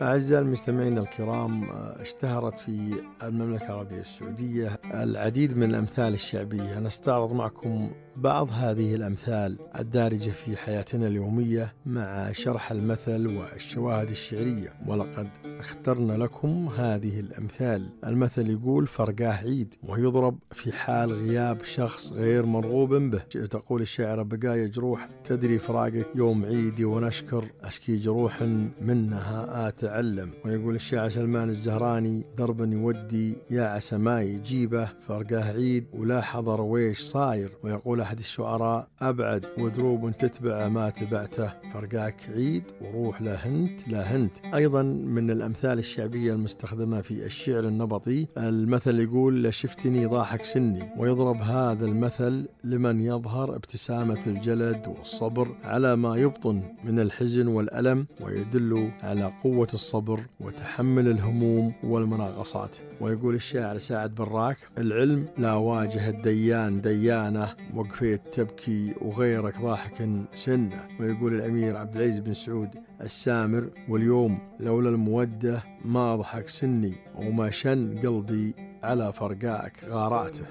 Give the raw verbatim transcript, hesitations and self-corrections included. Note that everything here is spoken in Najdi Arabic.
أعزائي المستمعين الكرام، اشتهرت في المملكة العربية السعودية العديد من الأمثال الشعبية. نستعرض معكم بعض هذه الأمثال الدارجة في حياتنا اليومية مع شرح المثل والشواهد الشعرية، ولقد اخترنا لكم هذه الأمثال. المثل يقول: فرقاه عيد، ويضرب في حال غياب شخص غير مرغوب به. تقول الشاعرة: بقايا جروح تدري فراقك يوم عيدي، ونشكر أشكي جروح منها أتعلم. ويقول الشاعر سلمان الزهراني: دربا يودي يا عسى ما يجيبه، فرقاه عيد ولا حضر ويش صاير. ويقول أحد الشعراء: أبعد ودروب تتبع ما تبعته، فرقاك عيد وروح لا هنت لا هنت. أيضا من الأمثال الشعبية المستخدمة في الشعر النبطي المثل يقول: لشفتني ضاحك سني. ويضرب هذا المثل لمن يظهر ابتسامة الجلد والصبر على ما يبطن من الحزن والألم، ويدل على قوة الصبر وتحمل الهموم والمناقصات. ويقول الشاعر سعد براك: العلم لا واجه الديان ديانة، وقفيت تبكي وغيرك ضاحك سنة. ويقول الأمير عبد العزيز بن سعود السامر: واليوم لولا المودة ما ضحك سني، وما شن قلبي على فرقاك غاراته.